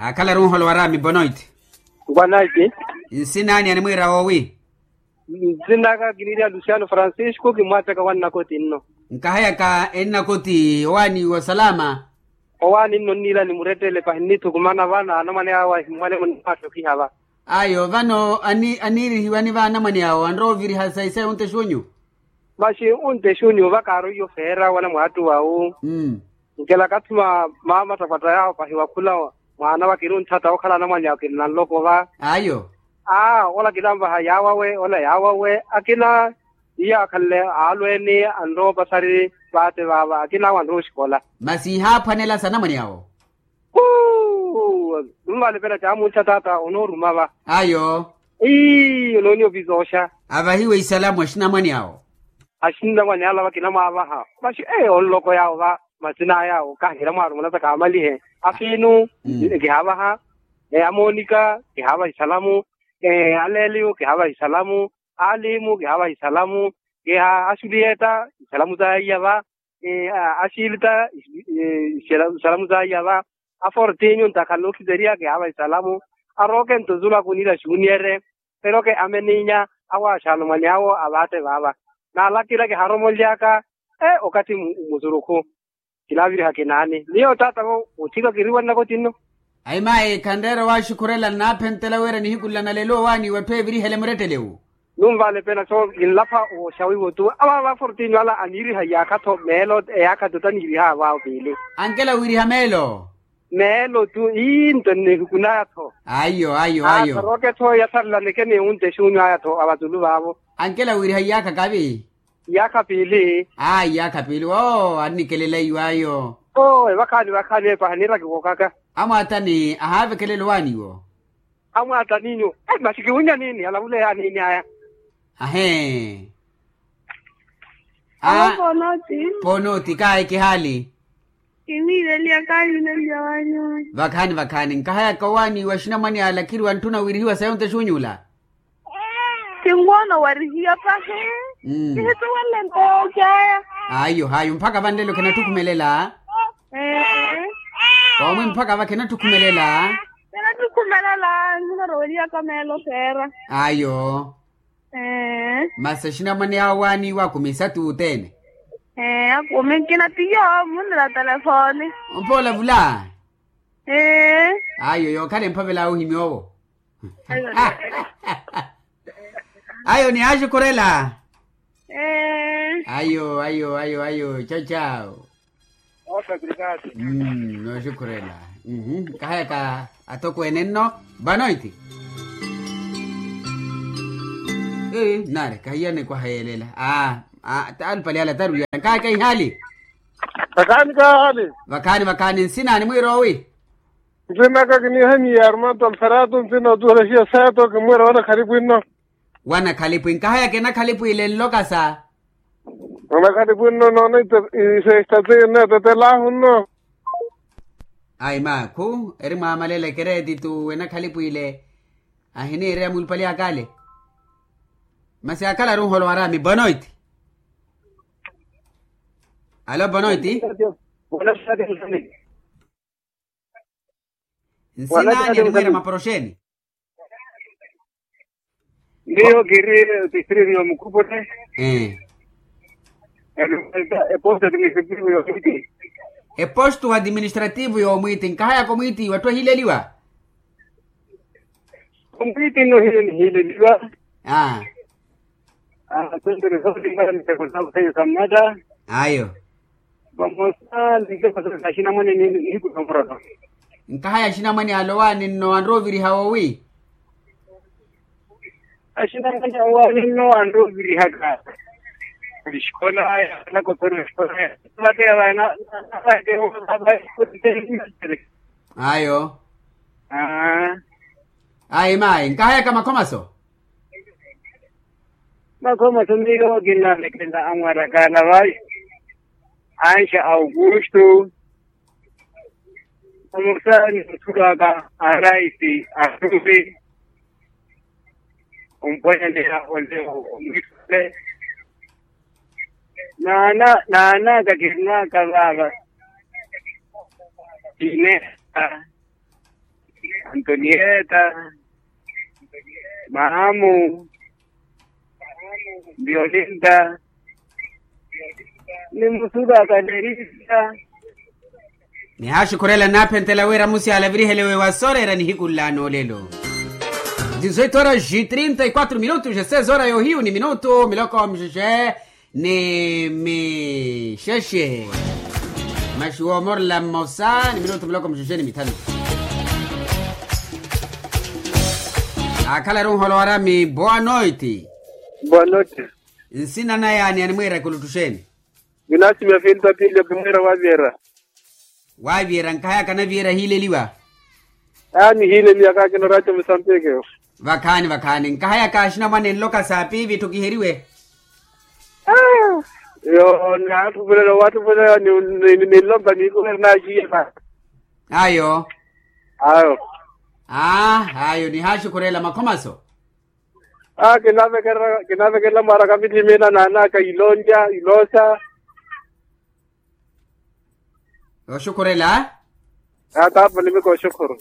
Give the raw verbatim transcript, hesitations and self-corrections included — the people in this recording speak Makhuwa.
Akhalaru nholo waraami bonoiti. Bonoiti. Nsina ani animwiira woowi? Nsinaka kiniiriha luciano francisco kimwattaka wannakoti nno. Nkahayaka ennakoti owaani wa salama. Owaani nno nniira ni murettele pahi nnithukumana vano anamwane awe ahimmwale munnimwatthokiha va. Ayo vano aniirihiwani va anamwane awo anrowa oviriha sa isayi onte xunyu. Maxi onte xunyu va kaaroiyo feera wala mwaattu wawu. Nkela kathuma maamattapwatta yaawo pahi wakhula mwaana wa kiri ontthata okhala anamwane awo kiri nanloko va. Ayo. Aa ola kilanvaha yaawawe ola yaawawe akina. Iyo akhanle aalweeni anrowa opasari vaate vaava akina awo anrowa oxikola. Masi ihaaphwanela sa anamwane awo. Kuu. Nunvalipela caamulisa taata onooruma va. Ayo. Ii onooniya ovisooxa. Avahiwe isalamu axinamwane awo. Axinamwane ala vakina mwaavaha maxi ee onloko yaawo va. Masina aya okaahira mwaarumuna sa kaamalihe afiinu. Kihaavaha. Amoonika kihaavaha isalamu. Aleeliyo kihaavaha isalamu. Alimu kihaavaha isalamu. Kiha axuliyetta isalamu za iya va. Axilita isalamu za iya va. Afortinyu ntakhala nookhizeriya kihaavaha isalamu. Arooke nto zulu akuniira xuniyere. Eroke ameninya awo axaanamwane awo avaatte vaava. Naalakira kiharomolyaka okathi musurukhu. Kilaaviriha kinaani miyo taatavo. Otthika kiriwannaka otinno. Ayi mayi khanreera owaaxukhurela nnaaphentela wira nihiku nla nalelo owaani iwe atthu evirihele murettele wu. Nunvalepela so kinlapha oxawiwo tu avaava fortinyu ala aniiriha iyaakha-tho meelo eyaakha-tho taniiriha avaawo piili. Ankela wiiriha meelo. Meelo tu ii nto nnihiku naya-tho. Ayo ayo ayo. Asaroke-tho yatharela nikeni onte xunyu aya-tho avazulu vaavo. Ankela wiiriha iyaakha kavi. Iyaakha piili. Aa iyaakha piili woowo annikelela iwaayo. Oo evakhaani vakhaani epaha niira kiwookaka. Amwaatani ahaavekelela owaani iwo. Amwaataninyu. Masi kiwinnya niini alavule yaaniini aya. Ahee. Aa. Ponooti. Ponooti kaayi kihaali. Kiniireliya kaayi kiniireliya waanyu. Vakhaani vakhaani nkahayaka owaani wa axinamwane ala khiriwa ntthuna wiirihiwa sayi onte xunyula. Kinwoona owarihiya pahi. Kihituwelle nto yoocaya. Ayo ayo mpakha vanlelo khinatthukhumelela. Omwi mpakha va khinatthukhumelela. Khinatthukhumelela nkinaroweliyaka meelo feera. Ayo. Masi axinamwane awo waaniiwa akumi isatu othene. Akumi nkina tiyo munira telefoni. Ompoola vula. Ayo yookhala emphavela ohimya owo. Ayo nihaaxukhurela. Ayo ayo ayo ayo chao chao. Nooxukhurela. Nkahayaka atokweene nno. Vanoiti. Nari kahiyane kwaha yeelela. Alupale ala tarwiya nkahayaka ihaali. Vakhaani kahaali. Vakhaani vakhaani nsina animwiira owi? Nsinaka kiniihaniya armando alferato nsina otuhela xiya seto kimwiira wanakhalipu inno. Wanakhalipu inkahayaka enakhalipu ile nlokasa. Wanakhalipu inno noona isesitati inno etetelaahu nno. Ayi maakhu eri mwaamalela ekeretitu enakhalipu ile. Ahiniireya mulupali akale. Masi akhala runholo waraami bonoiti. Alo bonoiti. Nsinani animwira maporoxeni. Miyo kiri distritu yomukhupule. Eposto administrativu yoomwiti. Eposto administrativu yoomwiti nkahayaka omwiti watthu ahileliwa. Omwiti nno hiyo nihileliwa. Asentere sootimbala miteko sawo seiyo sammata. Ayo. Vamosa nlike masaka axinamwane nihiku nomurolo. Nkahaya axinamwane alowaani nno anrowa oviriha woowi? Axinamwane awaani nno anrowa ovirihaka. Xikola aya anakothoriwa xikola aya. Vateya vana. Ayo. Ayi mayi nkahayaka makhomaso. Makhomaso miyo kinnalekela amwarakana vai. Anxa augusto. Omusaani othulwaka araisi arupi. Ompwanyaneya oleo omwitule. Naana naanaka kinnwaka vaava. Kineha. Antonieta, mamu, violinta, ni musulu akalerisa. Nihaaxukhurela naaphentela wira musi aalavirihelewe wa sooreera nihiku nlaana olelo. Dizoito horas e trinta e quatro minutos e seis horas yohiyu ni minutu miloko mixexe ni mixexe. Maxuwa omorela mmosa ni minutu miloko mixexe ni mithanu. Aakhalaru nholo warami boa noite. Boa noite. Nsina naya ni animwiira kuluttuxeni? Vinasimiya finta pili ya pumwira wa viera. Waaviira nkahayaka naviira hiileliwa. Aani hiileliwa kaakina oraatio musambiki. Vakhaani vakhaani nkahayaka axinamwane nloka saapi vitthukiheriwe. Yoo naathupulela waathupulela ninlompa niikuheri naaxiye. Ayo. Ayo. Ayo nihaaxukhurela makhomaso. Aa kinaavekerela mwaaraka mitthimina naanaka ilolya iloosa. Oxukhurela. Aa taapo nimika oxukhuru.